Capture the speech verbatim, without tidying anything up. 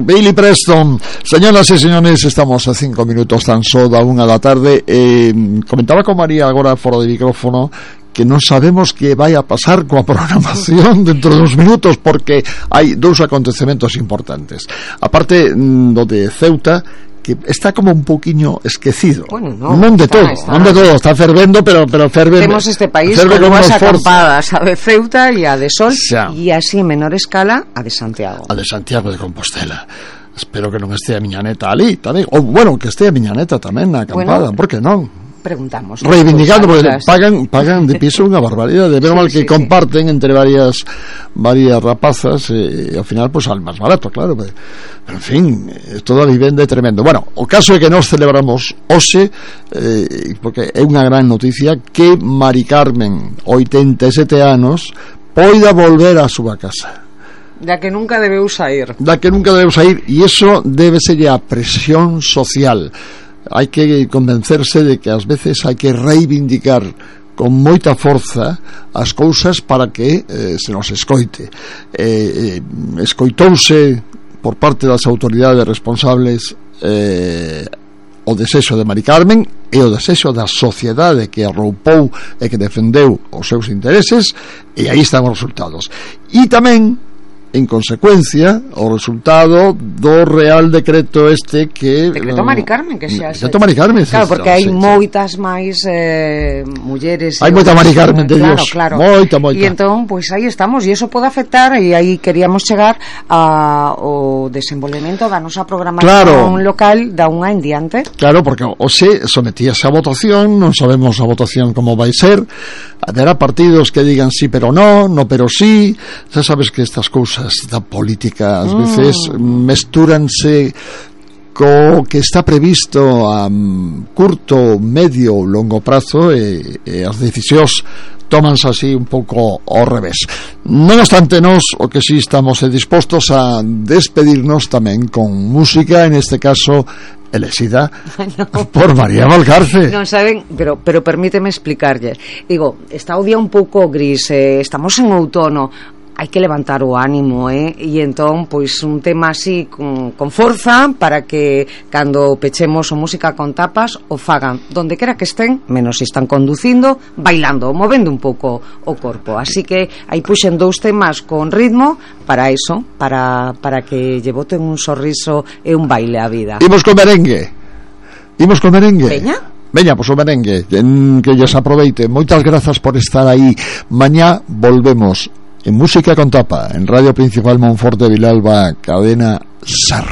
Billy Preston. Señoras e señores, estamos a cinco minutos tan só da unha da tarde. eh, Comentaba con María agora fora de micrófono que non sabemos que vai a pasar coa programación dentro de uns minutos, porque hai dous acontecementos importantes. A parte do de Ceuta, que está como un poquinho esquecido. Bueno, no, non de está, todo, está. non de todo, está fervendo, pero pero ferve. Temos este país ferve con con unhas forza. acampadas, a de Ceuta e a de Sol, Xa. e así en menor escala a de Santiago. A de Santiago de Compostela. Espero que non este a miña neta ali tamén, ou bueno, que este a miña neta tamén na acampada, Bueno, por que non? Preguntamos. Reivindicando, porque Pues, pagan pagan de piso unha barbaridade, de Sí, mal que sí, comparten entre varias varias rapazas, e, e ao final pues al máis barato, claro, pero, pero en fin, é toda vivenda é tremendo. Bueno, o caso é que nós celebramos hoxe, eh, porque é unha gran noticia, que Mari Carmen, oitenta e sete anos, poida volver á súa casa, da que nunca debeu sair. da que nunca debeu sair, e iso debe ser a presión social. Hai que convencerse de que ás veces hai que reivindicar con moita forza as cousas para que eh, se nos escoite. eh, eh, escoitouse por parte das autoridades responsables eh, o desexo de Mari Carmen e o desexo da sociedade que arroupou e que defendeu os seus intereses, e aí están os resultados. E tamén, en consecuencia, o resultado do Real Decreto este que... Decreto Mari Carmen, que xa... Decreto Mari Carmen, claro, porque hai sí, moitas máis eh, mulleres... Hai moita Mari Carmen de claro, Dios, claro. moita, moita. E entón, pois pues, aí estamos, e iso pode afectar, e aí queríamos chegar ao desenvolvemento da nosa programación claro. local da unha en diante. Claro, porque hoxe sometíase a votación, non sabemos a votación como vai ser, haberá partidos que digan sí pero no, no pero sí, xa sabes que estas cousas da política ás veces mm. mestúranse co que está previsto a curto, medio ou longo prazo, e, e as decisións tómanse así un pouco ao revés. Non obstante, nós o que sí estamos dispostos a despedirnos tamén con música, en este caso elexida no. por María Valcarce. Non saben, pero pero permíteme explicarlle. Digo, está o día un pouco gris, eh, estamos en outono, hai que levantar o ánimo, eh? E entón, pois, un tema así con, con forza para que cando pechemos o Música con Tapas o fagan donde quera que estén, menos se están conducindo, bailando, movendo un pouco o corpo. Así que aí puxen dous temas con ritmo para eso, para, para que lle boten un sorriso e un baile á vida. Imos con merengue. Imos con merengue. Veña. Veña, pois o merengue, que lles aproveite. Moitas grazas por estar aí. Mañá volvemos en Música con Tapa, en Radio Principal Monforte de Vilalba, cadena SER.